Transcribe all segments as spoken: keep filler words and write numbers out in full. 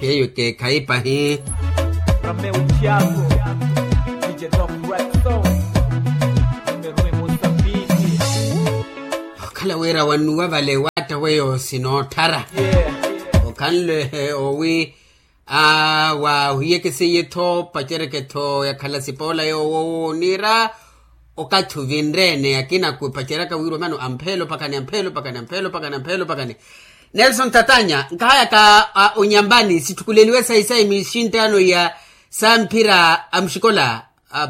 Yeyo ekeekhayi pahi. Rameu tiago, dije doc rexo, numero e mosambiki. Okhala wira wannuwa vale waatta weyo sinootthara. Okhanle owi. Aa wahiyekeseiye-tho pacereke-tho yakhala sipoola yoowo wooniira. Okathi ovinre-ene akina khupaceryaka wira omano ampheelo pakani ampheelo pakani ampheelo pakani ampheelo pakani. Nelson tatanya nkahayaka onyambani sitthukuleliwe sayi sayi mixinttaano ya samphira a muxikola.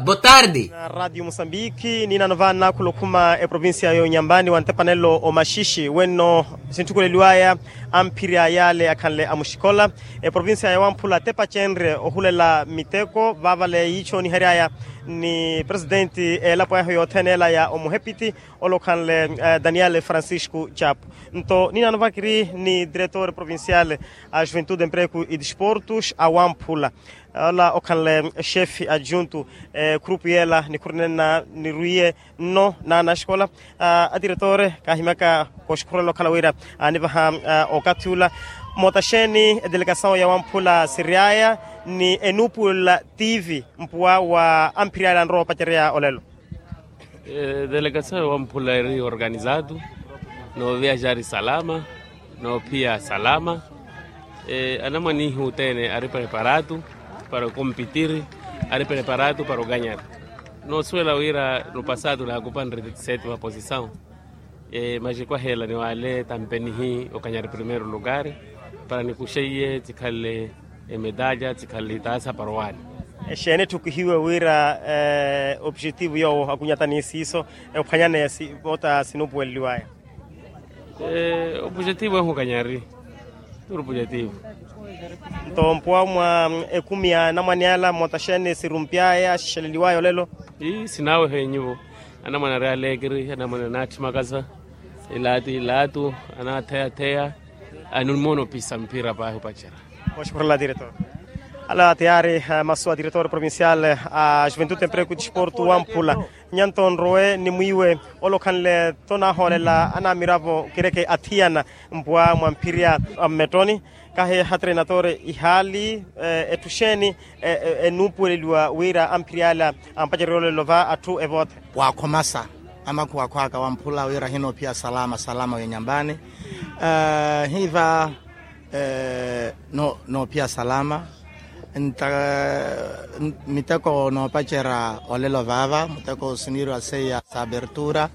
Botardi. Radiyo musambiki ninano vaana khula okhuma eprovincia ya onyambani wa ntepanelo omaxixi wenno sintthukuleliwaya amphiri a yaale akhanle a muxikola. Eprovincia ya wamphula tepacenrye ohulela miteko vaavale yiicho niheryaya ni presidenti eelapo eho yothene ela ya omuhepiti ole okhanle daniel francisco chapo. Nto ninano vakiri ni diretor provincial a juventude empreko e disportos a wamphula ola okhanle exefe adjunto. Khurupu yeela nikhurinena nirwiye nno naana axikola a diretore kaahimyaka kooxikhurela okhala wira anivaha okathi ula. Moota xeeni edelegasawu ya wamphula siryaya ni enuupuwelela tivi mpuwa wa amphiri ale anrowa opacerya olelo? Delegasawu ya wamphula eri organizado nooviaxari salama noophiya salama. Anamwane ihi othene ari preparado para okompitiri ari preparado para okanyari. Noosuwela wira no pasado naakupanre seti vaposisawu. Maxekwahela ni wale tampenihi okanyari primeiro lugar para nikuxeiye tsikhalle emedalya tsikhalle itaasa para owale. Exeeni etthukihiwe wira opujetivu yoowo akunyatani siiso ophwanyaneya moota sinuupuweleliwaya? Opujetivu ehu okanyari. Turi opujetivu. Nto mpuwa mwa ekumi ya anamwane ala moota xeeni sirumpyaya axixeleliwaya olelo? Ii sinaawehe nyuwo. Anamwane ari alekiri anamwane anaatthi makasa ilaati ilaatu anaatheyatheya. Animoona opisa mphira paahi opacerya. Oxukhurela diretor. Ala tiyaari masu a diretor provincial a juventude empreko e disporto wamphula. Nyanto nrowe ni mwiiwe ole okhanle-tho naahoolela anaamiravo kireke athiyana mpuwa mwa mphirya a mmettoni. Kahi hatrenatore ihaali etthu xeeni enuupuweleliwa wira amphiri ala ampacererya olelo va atthu evoothene? Waakhomasa amakhuwakhwaka wamphula wira ahinoophiya salama salama w'enyambani. Hiiva noophiya salama. Nta miteko noopacerya olelo vaava muteko siniiriwa seiya sa abertura.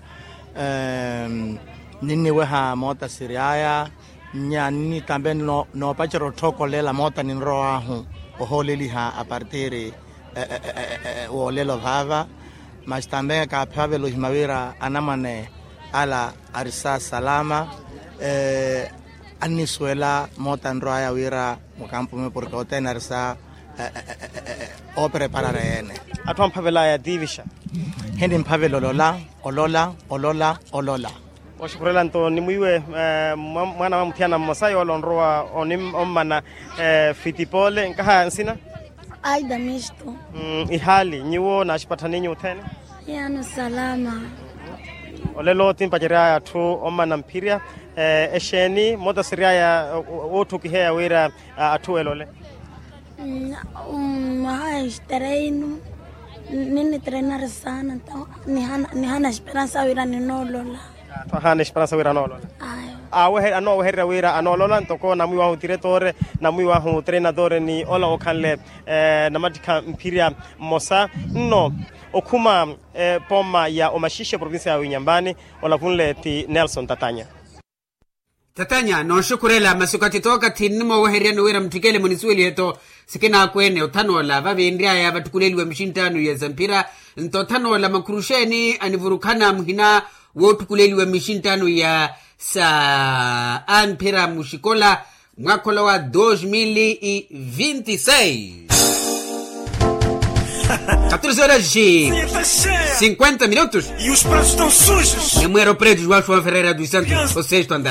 Ninniweha moota siryaya nya ninni tambe noopacerya otthookolela moota ninrowaahu ohooleliha apartiri w'olelo vaava. Masi tambe kaaphavela ohima wira anamwane ala arisa salama. Annisuwela moota nrowaya wira mukampume porke othene arisa oopreparara yeene. Atthu amphavelaya tiivixa. Hinimphavela olola olola olola olola. Oxukhurela nto ni mwiiwe mwaana wa muthiyana mmosa yoole onrowa ommana fitipole nkaha nsina? Aida misto. Ihaali nyuwo naaxipatthani nyuwo othene? Yaano salama. Olelo timpaceryaya atthu ommana mphirya exeeni moota siryaya wootthukiheya wira atthu elole? Mwaha extreino ninnitreinari saana nto nihana esperansa wira ninoolola. Atthu ahaana esperansa wira anoolola. Anoowehererya wira anoolola ntoko namwiiwahu tiretore namwiiwahu treinatore ni ola okhanle namattikha mphirya mmosa. Nno okhuma pooma ya omaxixe provincia ya winyambani olavunle ti nelson tatanya. Tatanya nooxukhurela masi okathi tookathi nnimoowehereryani wira mutthikele munisuwelihe-tho. Sikinaakwene othanoola vavinryaya vattukuleliwa mixinttaano ya samphira. Nto othanoola makhuru xeeni anivurukhana muhina woottukuleliwa mixinttaano ya sa amphira muxikola mwakhola wa dos mil e vinte e seis. Catorze horas e cinquenta minutos. Nemuero preto joão joão ferreira dos santos o sexto andar.